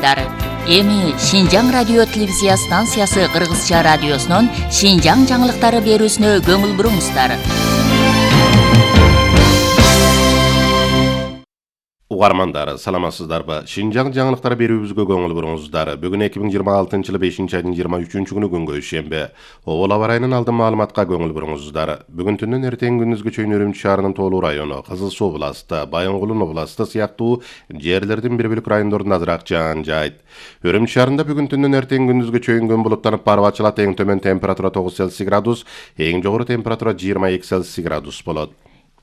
угуңуздар. Эми Шинжаң радио телевизия станциясы Кыргызча радиосунун Шинжаң жаңылыктары берүүсүнө көңүл буруңуздар. Угармандар, саламатсыздарбы? Шинжаң жаңылыктары берүүбүзгө көңүл буруңуздар. Бүгүн 2026-жылы 5-айдын 23-күнү күнгө ишемби. Обол аба ырайынын алдын маалыматка көңүл буруңуздар. Бүгүн түндөн эртең күндүзгө чейин Өрүмчү шаарынын Тоолуу району, Кызыл Суу областы, Байынгулун областы сыяктуу жерлердин бир бөлүк райондорунда азыраак жаан жайт. Өрүмчү шаарында бүгүн түндөн эртең күндүзгө чейин күн булуттанып барып ачылат. Эң төмөн температура 9 Цельсий градус, эң жогору температура 22 Цельсий градус болот.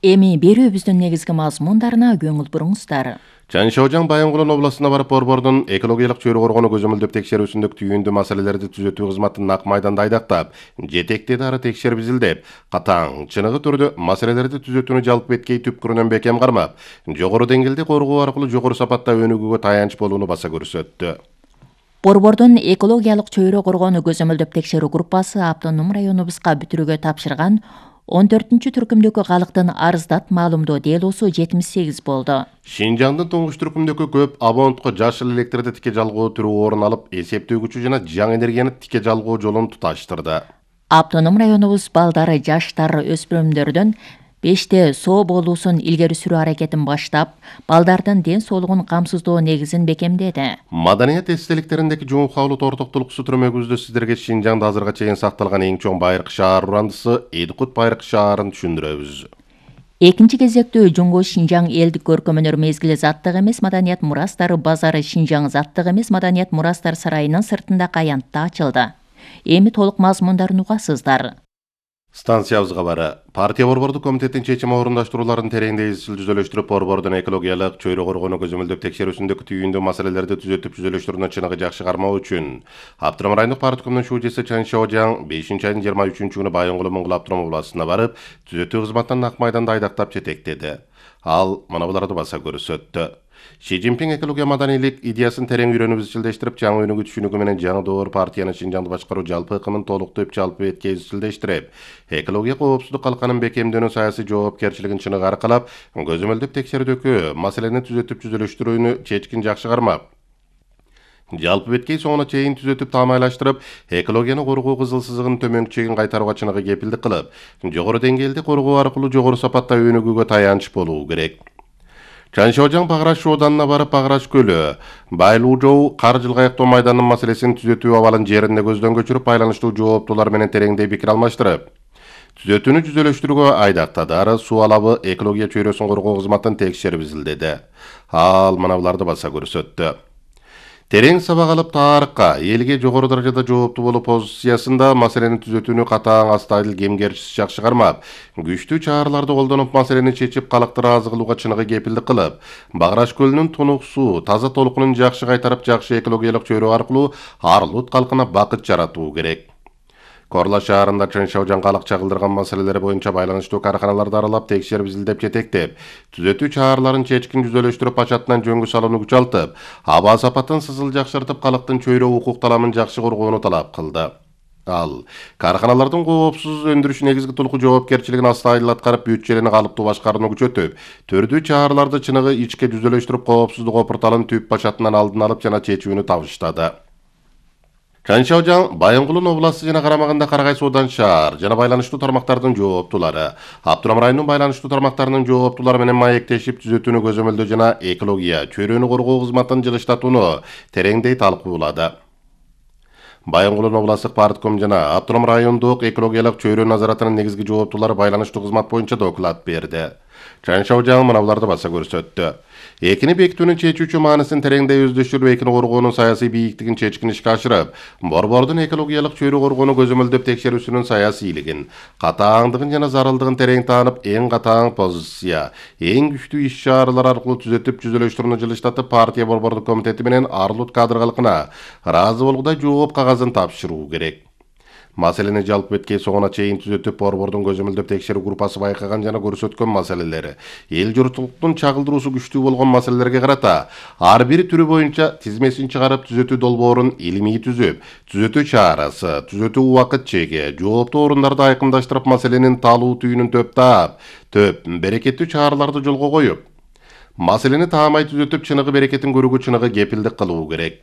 Эми берүүбүздүн негизги мазмундарына көңүл буруңуздар. Чаншаожаң Байынгулун областына барып борбордун экологиялык чөйрө коргонуу көзөмөлдөп текшерүүсүндөгү түйүндүү маселелерди түзөтүү кызматын нак майданда айдактап, жетектеди ары текшерип изилдеп, катаң, чыныгы түрдө маселелерди түзөтүүнү жалпы эткей түпкүрүнөн бекем кармап, жогору деңгээлде коргоо аркылуу жогору сапатта өнүгүүгө таянч болууну баса көрсөттү. Борбордун экологиялык чөйрө коргонуу көзөмөлдөп текшерүү группасы автоном районубузга бүтүрүүгө тапшырган 14-түркүмдөгү калктын арыздат маалымдоо делосу 78 болду. Шинжаңдын туңгуч түркүмдөгү көп абонентко жашыл электрди тике жалгоо түрү орун алып, эсептөөгүчү жана жаңы энергияны тике жалгоо жолун туташтырды. Автоном районубуз балдары, жаштар, өспүрүмдөрдөн 5-те соо болуусун илгери сүрүү аракетин баштап, балдардын ден соолугун камсыздоо негизин бекемдеди. Маданият эстеликтериндеги жууп кабылуу тортоктулуксу түрмөгүбүздө сиздерге Шинжаңда азырга чейин сакталган эң чоң байыркы шаар урандысы Эдикут байыркы шаарын түшүндүрөбүз. Экинчи кезектүү Жуңго Шинжаң элдик көркөмөнөр мезгили заттык эмес маданият мурастары базары Шинжаң заттык эмес маданият мурастар сарайынын сыртында Каянтта ачылды. Эми толук мазмундарын угасыздар. Станциябызга бары партия борбордук комитеттин чечими орундаштырууларын тереңдей изчил түзөлөштүрүп, борбордун экологиялык чөйрө коргонуу көзөмөлдөп текшерүүсүндөгү түйүндүү маселелерди түзөтүп түзөлөштүрүүнү чыныгы жакшы кармоо үчүн Аптырам райондук парткомдун шүүжеси Чаншаожаң 5-айдын 23-күнү Байынгул Моңгул Аптырам областына барып, түзөтүү кызматынан нак майданда айдактап жетектеди. Ал мына буларды баса көрсөттү. Ши Цзиньпин экология маданийлик идеясын терең үйрөнүп изчилдештирип, жаңы өнүгүү түшүнүгү менен жаңы доор партиянын Шинжаңды башкаруу жалпы ыкымын толуктуп, жалпы эткей изчилдештирип, экология коопсуздук калканын бекемдөөнү, саясий жоопкерчилигин чыныгы аркалап, көзөмөлдөп текшерүүдөгү маселени түзөтүп түзөлөштүрүүнү чечкин жакшы кармап, жалпы беткей соңуна чейин түзөтүп таамайлаштырып, экологияны коргоо кызыл сызыгынын төмөнкү чегин кайтарууга чыныгы кепилдик кылып, жогору деңгээлде коргоо аркылуу жогору сапатта өнүгүүгө таянч болуу керек. Чаншаожаң Баграш оданына барып, Баграш көлү, Байлуу кар жылгаяктоо майданынын маселесин түзөтүү абалын жеринде көздөн көчүрүп, байланыштуу жооптуулар менен тереңдей пикир алмаштырып, түзөтүүнү түзөлөштүрүүгө айдактады. Ары суу алабы экология чөйрөсүн коргоо кызматын текшерип изилдеди. Ал мына буларды баса көрсөттү. Терең сабак алып, тарыхка, элге жогору даражада жооптуу болуу позициясында маселени түзөтүүнү катаң, астайыл, кемгерчisiz жакшы кармап, күчтүү чараларды колдонуп маселени чечип, калкты ыраазы кылууга чыныгы кепилдик кылып, Баграш көлүнүн тунук суу, таза толкунун жакшы кайтарып, жакшы экологиялык чөйрө аркылуу Арлут калкына бакыт жаратуу керек. Корла шаарында Чаншаожаң калк чагылдырган маселелери боюнча байланыштуу карканаларды аралап, текшерип изилдеп жетектеп, түзөтүү чараларын чечкин түзөлөштүрүп, пачатынан жөнгө салууну күчалтып, аба сапатын сызыл жакшыртып, калктын чөйрө укук таламын жакшы коргоону талап кылды. Ал карканалардын коопсуз өндүрүш негизги толуку жоопкерчилигин астайыл аткарып, бюджетини калыптуу башкарууну күчөтүп, төрдүү чараларды чыныгы ичке түзөлөштүрүп, коопсуздук опурталын түп пачатынан алдын алып жана чечүүнү табыштады. Чаншаожаң Байынгулун областы жана карамагында Карагай суудан шаар жана байланыштуу тармактардын жооптуулары, Аптырам районунун байланыштуу тармактарынын жооптуулары менен маектешип, түзөтүүнү көзөмөлдөө жана экология чөйрөнү коргоо кызматын жылыштатууну тереңдей талкуулады. Байынгулун областтык партком жана Аптырам райондук экологиялык чөйрө назаратынын негизги жооптуулары байланыштуу кызмат боюнча доклад берди. Чаншаожаң мына буларды баса көрсөттү. Экини бекитүүнүн чечүүчү маанисин тереңдей өздөштүрүп, экини коргоонун саясий бийиктигин чечкин ишке ашырып, борбордун экологиялык чөйрө коргоону көзөмөлдөп текшерүүсүнүн саясийлигин, катааңдыгын жана зарылдыгын терең таанып, эң катаң позиция, эң күчтүү иш-чаралар аркылуу түзөтүп түзөлөштүрүүнү жылыштатып, партия борбордук комитети менен Арлут кадр калкына ыраазы болгудай жооп кагазын тапшыруу керек. Маселени жалпы эткей соңуна чейин түзөтүп, борбордун көзөмөлдөп текшерүү группасы байкаган жана көрсөткөн маселелери, эл журттуктун чагылдыруусу күчтүү болгон маселелерге карата ар бир түрү боюнча тизмесин чыгарып, түзөтүү долбоорун илимий түзүп, түзөтүү чарасы, түзөтүү убакыт чеги, жооптуу орундарды айкындаштырып, маселенин талуу түйүнүн төп берекеттүү чараларды жолго коюп, маселени таамай түзөтүп, чыныгы берекетин көрүүгө чыныгы кепилдик кылуу керек.